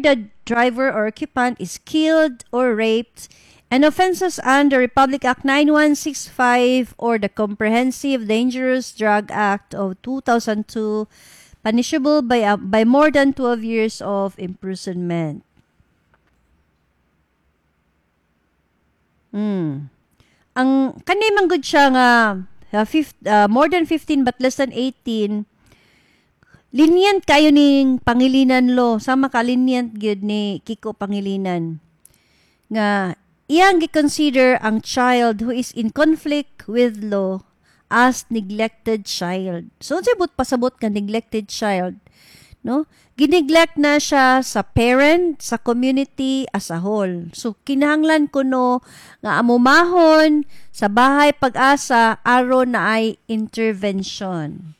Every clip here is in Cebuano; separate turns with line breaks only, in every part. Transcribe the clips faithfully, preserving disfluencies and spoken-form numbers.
the driver or occupant is killed or raped, and offenses under Republic Act nine one six five or the Comprehensive Dangerous Drug Act of two thousand two, punishable by, uh, by more than twelve years of imprisonment. Mm. Ang kani man gud siya nga uh, fif- uh, more than fifteen but less than eighteen, lenient kayo ning Pangilinan law, sama ka lenient gyud ni Kiko Pangilinan nga iyang gi-consider ang child who is in conflict with law as neglected child. So unsay but pasabot ka neglected child, no? Gineglect na siya sa parent, sa community as a whole. So kinahanglan kuno nga amumahon sa Bahay Pag-asa aron na ay intervention.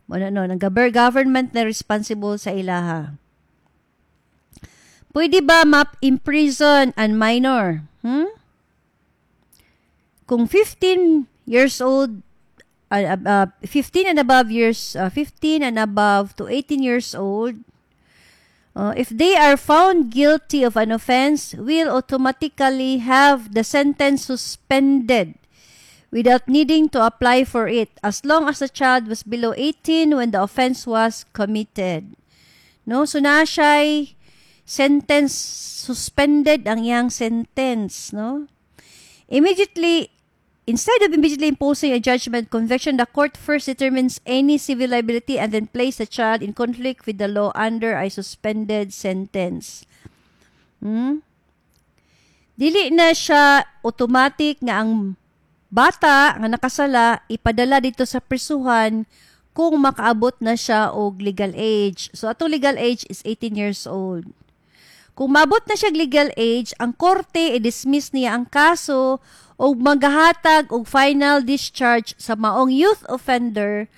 Mo na, no, ang government na responsible sa ilaha. Pwede ba ma-imprison an minor? Hmm? Kung fifteen years old, uh, uh, fifteen and above years, uh, fifteen and above to eighteen years old, uh, if they are found guilty of an offense, will automatically have the sentence suspended without needing to apply for it as long as the child was below eighteen when the offense was committed. No? So na siya'y sentence suspended ang iyang sentence, no? Immediately Instead of immediately imposing a judgment conviction, the court first determines any civil liability and then place the child in conflict with the law under a suspended sentence. Hmm? Dili na siya automatic nga ang bata nga nakasala ipadala dito sa prisuhan kung makaabot na siya og legal age. So atong legal age is eighteen years old. Kung maabot na siya legal age, ang korte i-dismiss niya ang kaso og magahatag og final discharge sa maong youth offender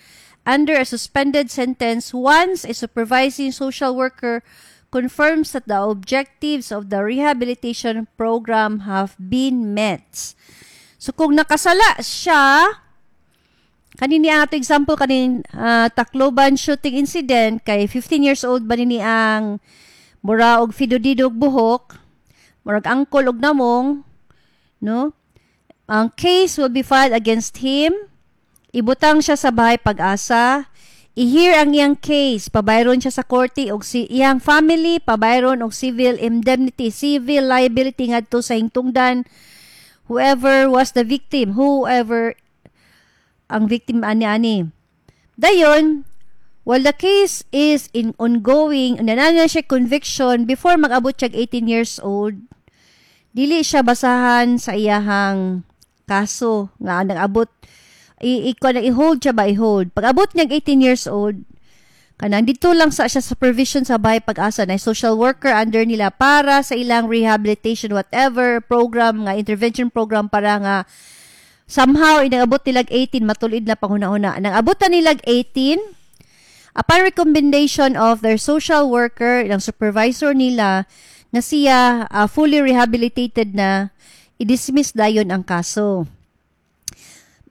under a suspended sentence once a supervising social worker confirms that the objectives of the rehabilitation program have been met. So kung nakasala siya, kanini ang ato example kaning uh, Tacloban shooting incident, kay fifteen years old ba nini ang mura og fidodidog buhok, murag angkol og namong, no? Ang case will be filed against him. Ibutang siya sa Bahay Pag-asa. I-hear ang iyang case, pabayron siya sa korte og si iyang family pabayron og civil indemnity, civil liability ngadto sa hingtungdan whoever was the victim, whoever ang victim ani-ani. Dayon, while the case is in ongoing, naa na siya conviction before mag-abot siya eighteen years old, dili siya basahan sa iyahang kaso nga nag-abot i, i, i-hold siya ba, i-hold. Pag abot niya eighteen years old, kanang dito lang sa siya supervision sa Bahay Pag-asa na social worker under nila para sa ilang rehabilitation, whatever program nga intervention program, para nga somehow inangabot nilag eighteen, matulid na panghuna-huna. Nang abot na nilag eighteen, upon recommendation of their social worker, ng supervisor nila, nga siya uh, fully rehabilitated na, i-dismiss dayon ang kaso.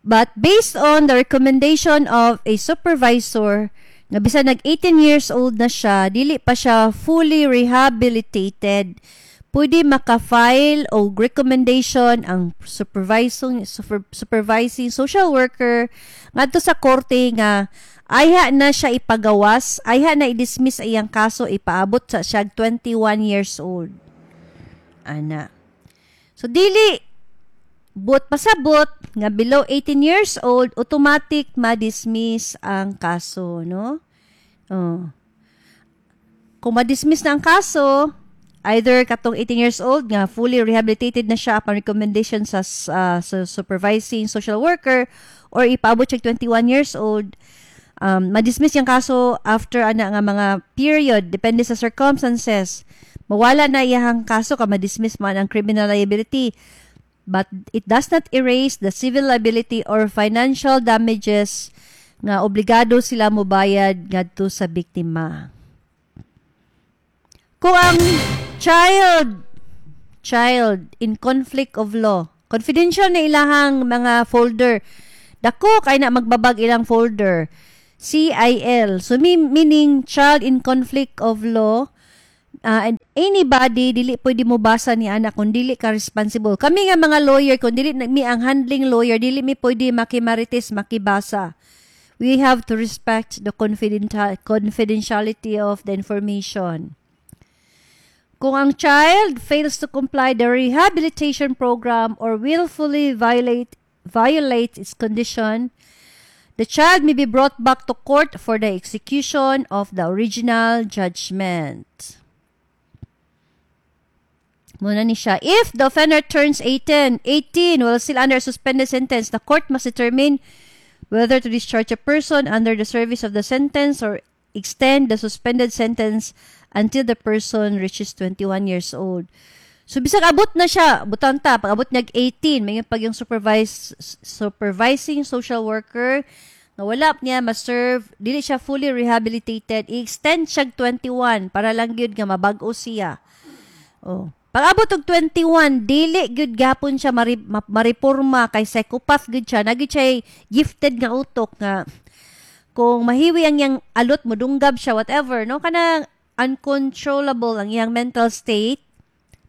But based on the recommendation of a supervisor, nga bisan nag eighteen years old na siya, dili pa siya fully rehabilitated, pwede maka-file og recommendation ang supervising super, supervising social worker ngadto sa korte nga ayha na siya ipagawas, ayha na i-dismiss iyang kaso, ipaabot sa siya twenty-one years old. Ana. So dili buot pasabot nga below eighteen years old automatic ma-dismiss ang kaso, no? Oh. Kung ma-dismiss na ang kaso, either katong eighteen years old nga fully rehabilitated na siya upon recommendation sa, uh, sa supervising social worker, or ipaabot siya twenty-one years old, um, ma-dismiss yung kaso after ana nga mga period, depende sa circumstances, mawala na iyang kaso ka ma-dismiss man ang criminal liability, but it does not erase the civil liability or financial damages nga obligado sila mobayad ngadto sa biktima. Kung ang child child in conflict of law, confidential na ilahang mga folder. Dako kay na magbabag ilang folder. C I L. So meaning child in conflict of law uh, and Anybody dili pwede mo basa ni ana kung dili ka responsible. Kami nga mga lawyer kung dili mi ang handling lawyer dili mi pwede makimarites makibasa. We have to respect the confidential confidentiality of the information. Kung ang child fails to comply the rehabilitation program or willfully violate violates its condition, the child may be brought back to court for the execution of the original judgment. Mao na ni siya. If the offender turns eighteen, eighteen while still under suspended sentence, the court must determine whether to discharge a person under the service of the sentence or extend the suspended sentence until the person reaches twenty-one years old. So bisag abot na siya, butang ta, pag abot niyag eighteen, may pag yung supervise, supervising social worker nga wala niya ma-serve, dili siya fully rehabilitated, i-extend siya twenty-one para lang gyud nga mabag-o siya. Oh. Pag abot og twenty-one, dili gyud gapon siya mari, ma, mariporma kay psychopath gyud siya, naa gyud siya gifted nga utok nga kung mahiwi ang iyang alot modunggab siya, whatever, no, kanang uncontrollable ang iyang mental state.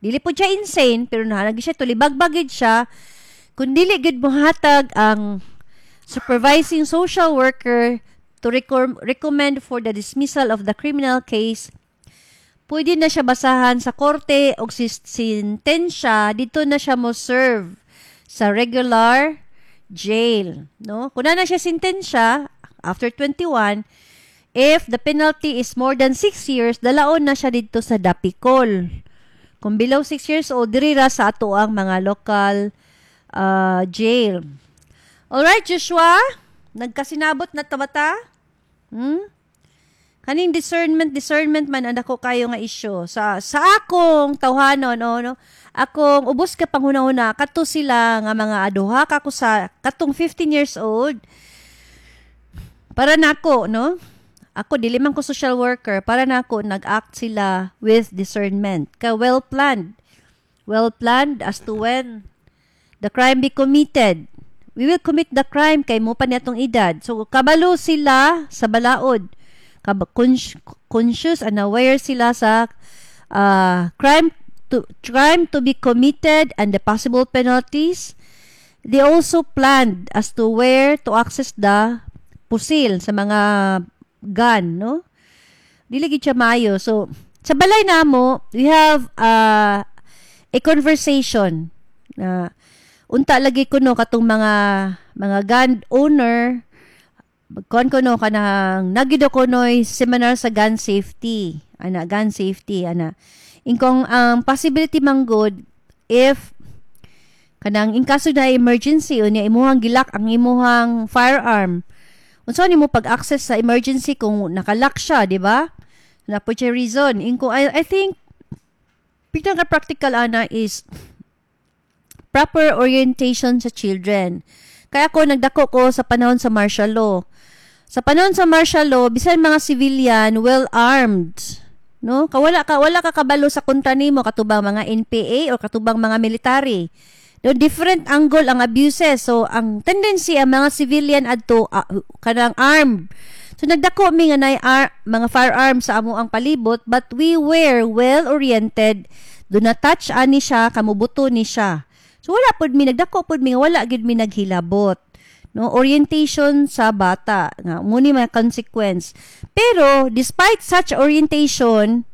Dili po siya insane pero naa gyud siya tulibagbag gyud siya. Kung dili gyud mohatag ang supervising social worker to recom- recommend for the dismissal of the criminal case, pwede na siya basahan sa korte og si sentensya dito na siya mo serve sa regular jail, no? Kung na na siya sentensya after twenty-one, if the penalty is more than six years, dalaon na siya dito sa Dapecol. Kung below six years old, diri ra sa ato ang mga local uh, jail. Alright, Joshua? Nagkasinabot na tabata? Hmm? Kaning discernment, discernment man ang dako kayo nga isyu. Sa sa akong tawhanon, no, no, akong ubos ka panghuna-huna, kato sila nga mga aduha kako sa katong fifteen years old. Para nako, no? Ako dili man ko social worker, para nako nag-act sila with discernment. Ka well planned. Well planned as to when the crime be committed. We will commit the crime kay mo pa niya tong edad. So kabalo sila sa balaod. Conscious and aware sila sa uh, crime to crime to be committed and the possible penalties. They also planned as to where to access the pusil sa mga gun, no? Dili gid siya maayo. So, sa balay namo, we have uh, a conversation na unta lagi kuno katong mga mga gun owner kon kuno kanang nagido kunoy seminar sa gun safety, ana, gun safety ana. Ingkong ang um, possibility man good if kanang in kaso na emergency unya imuhang gi-lock ang imuhang firearm, unsa nimo pag-access sa emergency kung naka-lock siya, di ba? Na po siya reason ingko I, I think pinaka practical ana is proper orientation sa children. Kaya ako nagdako ko sa panahon sa martial law. Sa panahon sa martial law, bisan mga civilian well armed. No? Kawala ka wala ka kabalo sa kontra nimo katubang mga N P A o katubang mga military. No, different angle ang abuses. So ang tendency ang mga civilian adto uh, kanang armed. So nagdako mi nga nay ar- mga firearms sa amo ang palibot, but we were well oriented. Do not touch ani siya, kamubuto ni siya. So wala pud mi nagdako pud mi nga wala gid mi naghilabot. No, orientation sa bata nga mao ni mga consequence. Pero despite such orientation,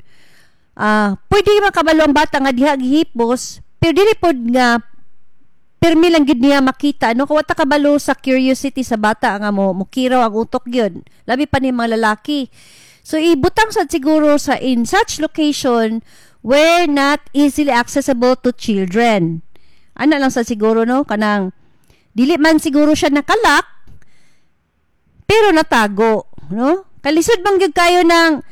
ah uh, pwede man kabalo ang bata nga diha gihipos, pero dili pod nga pirmi lang gid niya makita, no, kay wa ta kabalo sa curiosity sa bata nga mo mukiraw ang utok gyud, labi pa ni mga lalaki. So ibutang sad siguro sa in such location where not easily accessible to children ana lang sa siguro, no, kanang dili man siguro siya naka-lock pero natago, no? Kalisod bang gyud kayo ng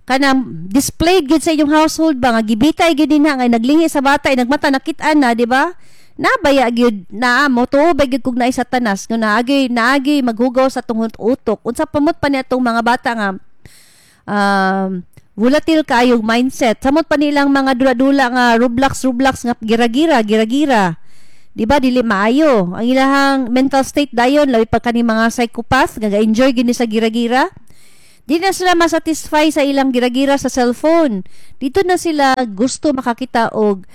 kanang displayed gyud sa inyong household ba nga gibitay gyud dinha nga naglingi sa bata ay nagmata nakit-an na, di ba? Nabaya gyud na mo tuo ba gyud kung naay Satanas nga naagi naagi maghugaw sa tungod utok. Unsa pamot pa niya tong mga bata nga um, volatile kaayong mindset, samot pa nilang mga dula-dula nga Roblox Roblox nga gira-gira gira-gira, di ba? Dili maayo ang ilahang mental state dayon, labi pa kani mga psychopath nga ga-enjoy gini sa gira-gira. Di na sila masatisfy sa ilang gira-gira sa cellphone. Dito na sila gusto makakita og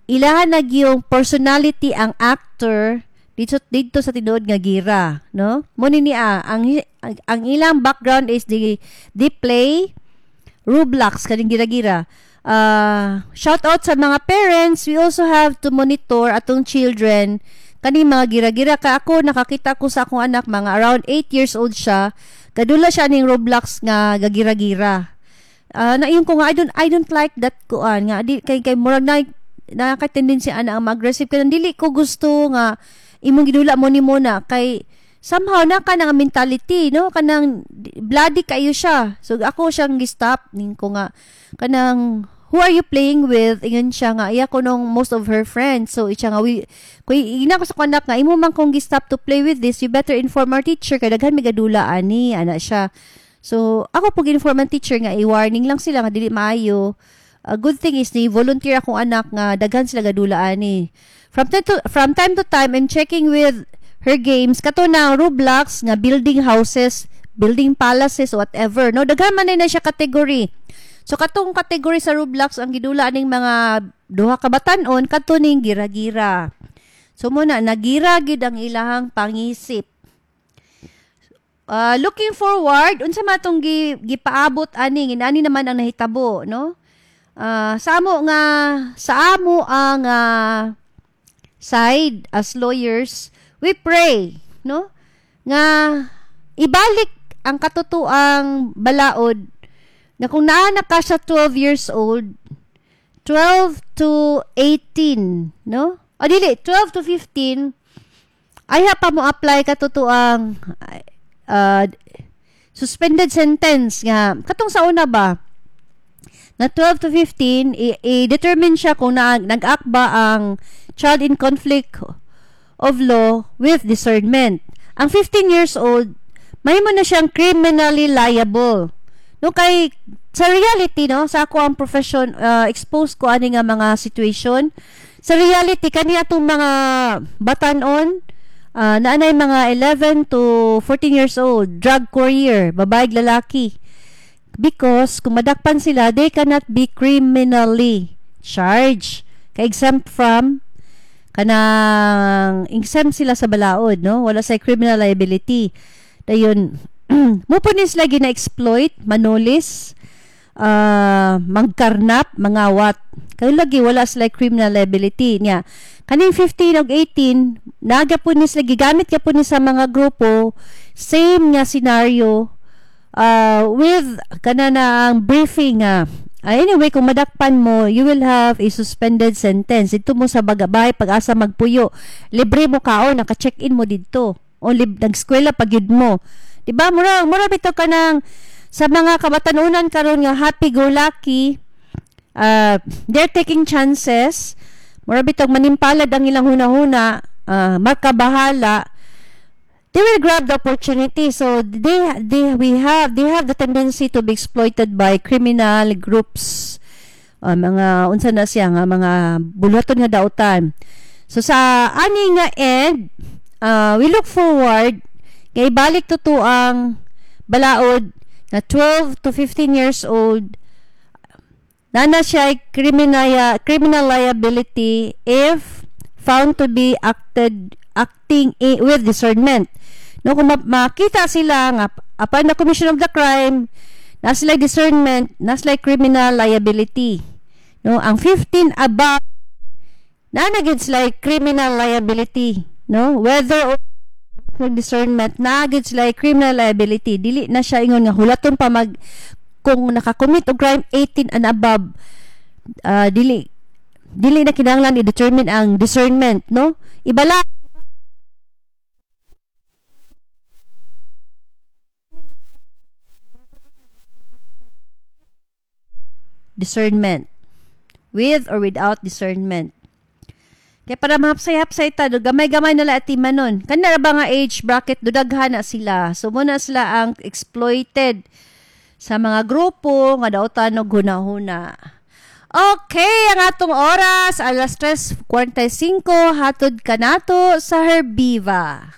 ilahan na yung personality ang actor dito dito sa tinuod nga gira, no? Mo ni niya ang ang ilang background is the they play Roblox kaning gira-gira. Uh, shout out sa mga parents, we also have to monitor atong children kani mga gira-gira ka. Ako, nakakita ko sa akong anak, mga around eight years old siya, gadula siya ning Roblox nga gagira-gira. Uh, naingon ko nga I don't I don't like that kuan nga di kay kay murag na naka tendency ana ang aggressive kanang dili ko gusto nga imong gidula mo ni mo na kay somehow na ka nga mentality, no, kanang bloody kayo siya. So ako siyang gi-stop ning ko nga kanang, "Who are you playing with?" Ingon siya nga iya ko nung most of her friends. So siya nga we kuy ina ko sa anak nga imo man kong gi-stop to play with this, you better inform our teacher kay daghan may gadula ani ana siya. So ako pag inform ang teacher nga i-warning lang sila nga dili maayo. A good thing is ni volunteer akong anak nga daghan sila gadula ani. From time to from time to time I'm checking with her games, kato na Roblox nga building houses, building palaces, whatever, no? Daghan man na siya category. So katong category sa Roblox ang gidula ning mga duha ka batan-on, kato ning gira-gira. So muna nagira gid ang ilahang pangisip. Uh, looking forward, unsa man tong gi, gipaabot ani, inani naman ang nahitabo, no? Uh, sa amo nga sa amo ang uh, side as lawyers, we pray, no? Nga ibalik ang katotoang balaod nga kung naa na ka sa twelve years old, twelve to eighteen, no? O dili, twelve to fifteen, ayha pa mo apply katotoang uh, suspended sentence nga katong sa una ba na twelve to fifteen, i-determine siya kung na, nag-act ba ang child in conflict of law with discernment. Ang fifteen years old, mahimo na siyang criminally liable. No, kay sa reality, no, sa ako ang profession, uh, exposed ko ani nga mga situation. Sa reality kani atong mga batanon uh, naanay mga eleven to fourteen years old, drug courier, babae, lalaki. Because kung madakpan sila, they cannot be criminally charged. Kay exempt from kanang exempt sila sa balaod, no? Wala sa criminal liability. Dayon mo po ni sila gina-exploit, manulis, uh, magkarnap, mangawat. Kay lagi wala sila criminal liability niya. Kaning fifteen ug eighteen, naga po ni sila gigamit ka po ni sa mga grupo, same nga scenario uh, with kana na ang briefing nga uh, anyway, kung madakpan mo, you will have a suspended sentence. Dito mo sa bagabay, pag-asa magpuyo. Libre mo kaon, naka-check-in mo dito. O lib, nag-eskwela pag yun mo. Diba? Mura, mura bitaw ka ng sa mga kabatanunan karon nga happy-go-lucky, uh, they're taking chances. Mura bitaw manimpalad ang ilang hunahuna, uh, makabahala, they will grab the opportunity. So they they we have they have the tendency to be exploited by criminal groups. Uh, mga unsa na siya nga mga buluhaton nga dautan. So sa ani nga end, uh, we look forward kay ibalik to to ang balaod na twelve to fifteen years old na na siya criminal criminal liability if found to be acted acting with discernment. No, kung makita sila nga upon the commission of the crime, na sila discernment, na sila criminal liability. No, ang fifteen above na na sila criminal liability, no? Whether or discernment, na sila criminal liability. Dili na siya ingon nga hulaton pa mag kung nakakommit og crime eighteen and above, uh, dili dili na kinahanglan i-determine ang discernment, no? Ibala discernment. With or without discernment. Kaya para mahapsay-hapsay ta, do, gamay-gamay na la atiman nun. Kana ba nga age bracket, dudaghan na sila. So, muna sila ang exploited sa mga grupo nga dautan og hunahuna. Okay, ang atong oras, alas tres kwarenta y singko, hatod kanato sa Herbiva.